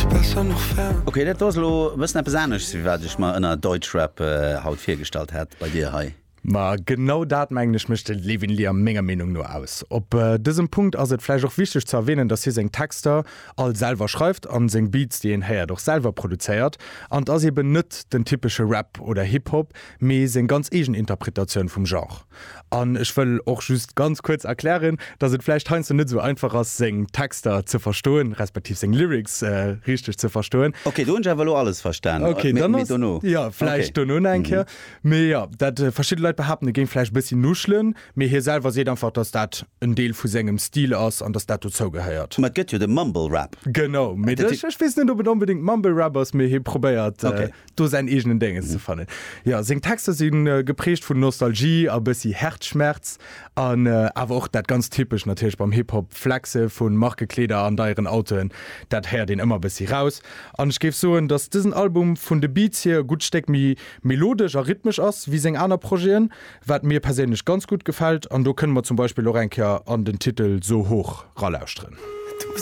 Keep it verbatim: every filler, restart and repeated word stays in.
Besser noch fern. Okay, dat ass lo bëssen eppes anescht, wéi wat ech mer ënner Deutschrap äh, haut virgestallt hat bei dir hei. Ma genau dat, mengen ech, mécht de Levin Liam menger Meenung no aus. Op äh, dësem Punkt ass et vläicht och wichteg ze erwänen, dass hie seng Texter all selwer schreift an seng Beats, déi een héiert, och selwer produzéiert an ass eben net den typesche Rap oder Hip-Hop, mee seng ganz eegen Interpretatioun vum Genre. An ech wëll och just ganz kuerz erklären, dass et vläicht heiansdo net sou einfach ass, seng Texter ze verstoen, respektiv seng Lyrics äh, richteg ze verstoen. Okay, do hunn ech awer lo alles verstan. Okay, Mee- dann mee ass- dono. Ja, vläicht Okay. dono eng Kéier. Mee ja, dat äh, verschidde Leit behaapten, e géing vläicht bëssi nuschelen, mee hie selwer seet einfach, dass dat en Deel vu sengem Stil ass an dass dat dozou gehéiert. Ma et gëtt jo de Mumble Rap. Genau, mee Dat- ech, ech weess net, ob et onbedéngt Mumble Rap ass, mee hie probéiert Okay. äh, do säin eegenen Dénges ze fannen. Ja, seng Texter sinn äh, geprägt vun Nostalgie a bëssi Häerzschmerz an äh, awer och dat ganz typesch natierlech beim Hip-Hop Flexe vun Markekleeder an deieren Autoen, dat héiert een ëmmer bëssi raus. An ech géif soen, dass dësen Album vun de Beats hier e gutt Stéck méi melodesch a rhythmesch ass wéi seng aner Projeten, wat mir perséinlech ganz gutt gefält an do kënne mer zum Beispill och eng Kéier an den Titel "So hoch" ralauschteren. Du